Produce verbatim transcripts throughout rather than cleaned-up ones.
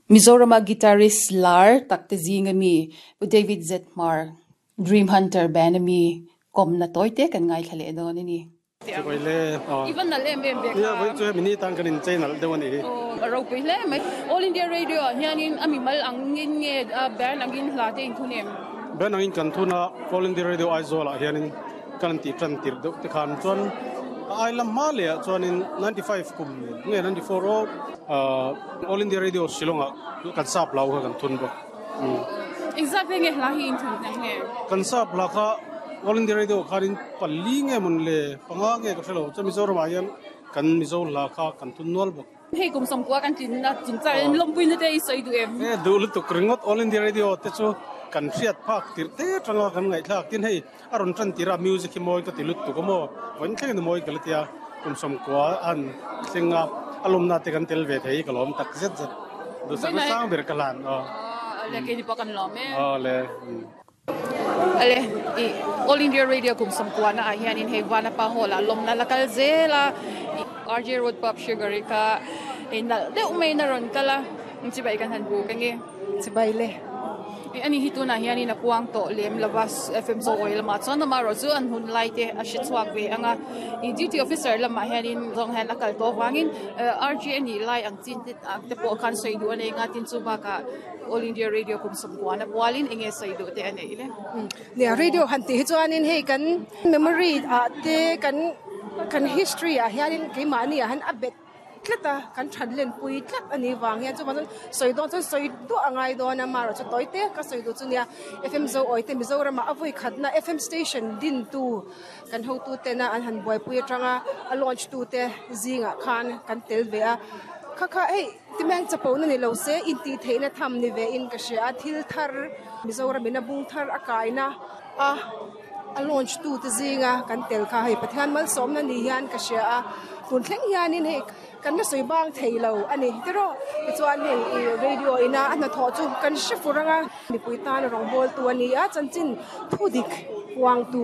Mizorama guitarist lar tak te zinga mi Pu David Z Hmar Dream Hunter band ami kawmna tawite kan ngaithla leh dawn a ni. Chibai le. I va nalh em em ve kha. Nia vawi chu hemi ni tan kan inchei nalh deuh a nih hi. Aw a ropui hle mai. All India Radio ah hianin a mimal angin nge band angin hla te in thun em? Band angin kan thun a, All India Radio Aizawl ah hianin kan han tih tan tirh deuh te khan chuan a ai lam hma leh ah chuanin ninety five kum nge ninety four aw All India Radio Shillong ah kan sap hlau kha kan thun bawk. Engzat ve nge hla hi in thun hna nge? Kan sap hla kha All India Radio khanin pali nge mawn le panga nge ka hre lo chuan Mizoram ah hian kan Mizo hla kha kan thun nual bawk. Hei kum sawmkua kan tlinna chungchang in lawmpuina te i sawi duh em? E duh lutuk ringawt All India Radio te chu kan hriat phak tirh te atanga kan ngaihthlak tin hei a rawn tan tirh a music hi mawi ka ti lutuk a maw vawiin thlengin a mawi ka la tia kum sawmkua a han thleng a a lawmna te kan tel ve thei ka lawm tak zet zet duhsakna sang ber ka hlan aw. Ale keini pawh kan lawm em. Aw le. Ale i All India Radio kum sawmkuana ah hianin hei Vanapa Hall ah lawmna la kal zel a R J Road Pub Sugar i kha hei nalh deuh maiin a rawn kal a chibai kan han buk ange. Chibai le. I ani hi tunah hianin a puang tawh lem lova F M Zawi lamah chuan amaherawh chu an hun lai te a hre chhuak ve ang a i duty officer lamah hianin zawng hian a kal tawh avangin R J a nih lai ang chin te te pawh khan sawi duh a nei anga tin chu bakah All India Radio kum sawmkuana pualin enge sawi duh te a nei le. Nia radio han tih hi chuanin hei kan memory ah te kan kan history ah hianin keimahni ah hian a bet tlat a, kan that len pui tlat a nih vang hian chuvang chuan sawi dawn chuan sawi duah a ngai dawn a, amaherawh chu tawi te ka sawi duh chu nia F M Zoawi te Mizoram ah a vawi khatna F M station dintu kan hotu tena an han buaipui atanga a launch tu te zingah khan kan tel ve a, kha kha hei timeng chapona ni lo se intih theihna tham ni ve in ka hria a, thil thar Mizoram in a bung thar a kaina a a launch tu te zinga kan tel kha hei Pathian malsawmna ni hian ka hria a, tun thleng hianin hei kan la sawi bang thei lo a ni tiraw tichuan hei ih radio ina a hnathawh chu kan hre fur anga mipui tan rawngbawltu a ni a chanchin thu dik puangtu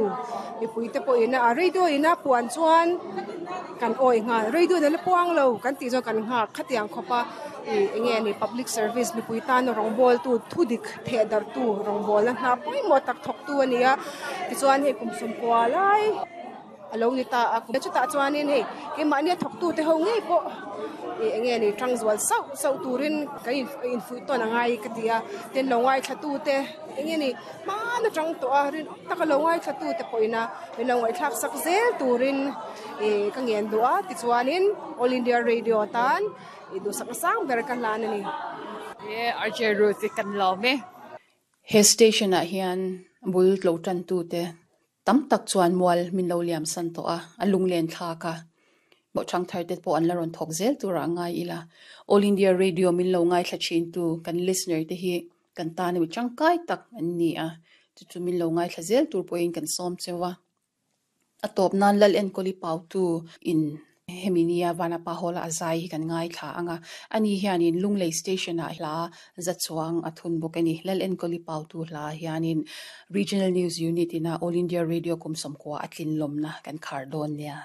mipui te pawh ina a radio ina puan chuan kan awi nghal radio ina la puang lo kan tih chuan kan nghak khatiang khawp a ih eng nge ni public service mipui tan rawngbawltu thu dik theh darhtu rawngbawlna hna pawimawh tak thawktu a ni a tichuan hei kum sawmkua lai a lo ni ta a chutah chuanin hei keimahni a thawktu te ho ngei pawh ih eng nge ni tang zual sauh sauh turin kan infuih tawn a ngai ka ti a tin lo ngaithla tu te eng nge ni hmana tang tawh a rinawm taka lo ngaithla tu te pawhin a min lo ngaihthlak sak zel turin ih ka ngen duh a tichuanin All India Radio tan ih duhsakna sang ber ka hlan a ni. E R J Ruth i kan lawm e. He station ah hian bul tlo tan tu te tam tak chuan mual min lo liam san tawh a, a lunglen thlak a. Bawhchang thar te pawh an la rawn thawk zel turah a ngai ila. All India Radio min lo ngaithla thin tu kan listener te hi kan tan emaw tangkai tak an ni a, chu chu min lo ngaithla zel tur pawhin kan sawm cheu a. A tawp nan Lal Enkawli Pautu in hemi nia Vanapa Hall a zai hi kan ngaithla ang a, ani hianin Lunglei Station ah hla za chuang a thun bawk a ni. Lal Enkawli Pautu hla hianin Regional News Unit ina All India Radio kum sawmkua a tlin lawmna kan khar dawn nia.